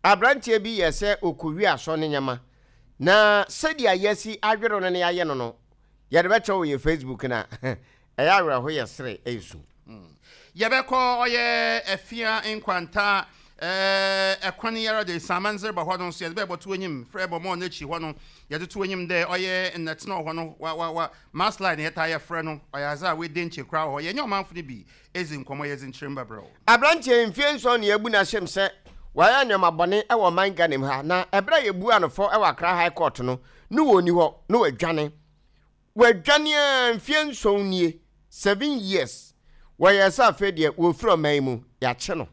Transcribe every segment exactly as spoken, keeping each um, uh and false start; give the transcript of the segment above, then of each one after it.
Aberanteɛ bi yɛ sɛ ɔkɔwie asɔ ne nyama na sɛdeɛ yɛasi adwere no ne yɛayɛ no no yɛde bɛkyerɛ wɔ yɛ Facebook na ɛyɛ awerɛho, yɛ sere, ɛyɛ su. Yɛbɛkɔ ɔyɛ Afia Nkwanta ɛɛ ɛkwan yɛrɛ de samanzere bɔ hɔ no nso, yɛde bɛbɔ to anim frɛ bɔ mɔɔ n'akyi hɔ no, yɛde to anim dɛ ɔyɛ nnɛtena wɔ hɔ no wa wa wa mass line yɛtaa yɛfrɛ no ɔyɛ adze a wɔadi nkyɛ koraa wɔ hɔ. Yɛnyɛ ɔmanfo no bi ezi nkɔmmɔ, yɛdze nkyerɛmu bɛbrɛ wo. Aberanteɛ mfie nson ne yɛabu no ahyɛm sɛ wayɛ nneɛma bɔne wɔ ɔman Ghana mu ha, na ɛberɛ a yɛbu no fɔ wɔ Accra High Court no ne wɔni hɔ na wadwane wadwane a mfie nson nie, seven years. Wɔyɛ sɛ afei deɛ wɔfiri ɔman yi mu, yɛakye no.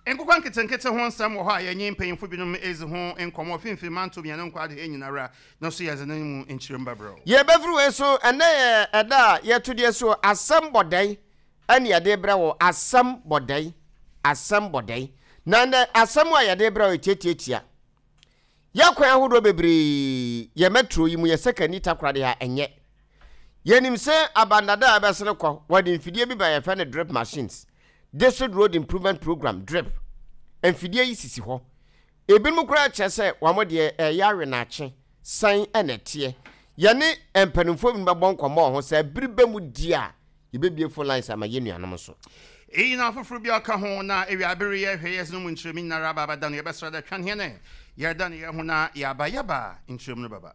Nkokɔ nketenkete ho nsɛm wɔ hɔ a yɛnye mpanyimfo binom ezi ho nkɔmmɔ fimfini manto mmienu nkɔ ade nyinara no so, yɛdze no mu nkyerɛmu bɛbrɛ wo. Yɛbɛfiri wei so. Ɛnɛ yɛ ɛda a yɛto deɛ so asɛm bɔdɛn ɛne yɛde brɛ wɔ asɛm bɔdɛn, asɛm bɔdɛn. Na nnɛ asɛm a yɛde brɛ wɔ tiatiatia yɛkwan ahodoɔ bebree yɛ metro yi mu, yɛ Sekondi Takoradi ha. Ɛnyɛ yɛnim sɛ abandada a ɛbɛsene kɔ, wɔde mfidie bi ba, yɛfɛ no drip machines, District Road Improvement Program, DRIP. Mfidie yi sisi hɔ, ebinom koraa kyerɛ sɛ wɔn deɛ ɛyɛ awe n'akye san ɛna ɛteɛ. Yɛne mpanimfoɔ bi bɛbɔ nkɔmmɔ wɔ ho sɛ bere bɛ mu di a yɛbɛbie phone lines ama yɛn nuanom nso. Eyi na afoforɔ bi aka ho na ewiabere yɛ hwɛ yɛdze no mu nkyerɛmu nyinara aba abɛda no. Yɛbɛsrɛ dɛ twan hɛn yɛreda no yɛn ho na yɛaba, yɛba nkyerɛmu no bɛba.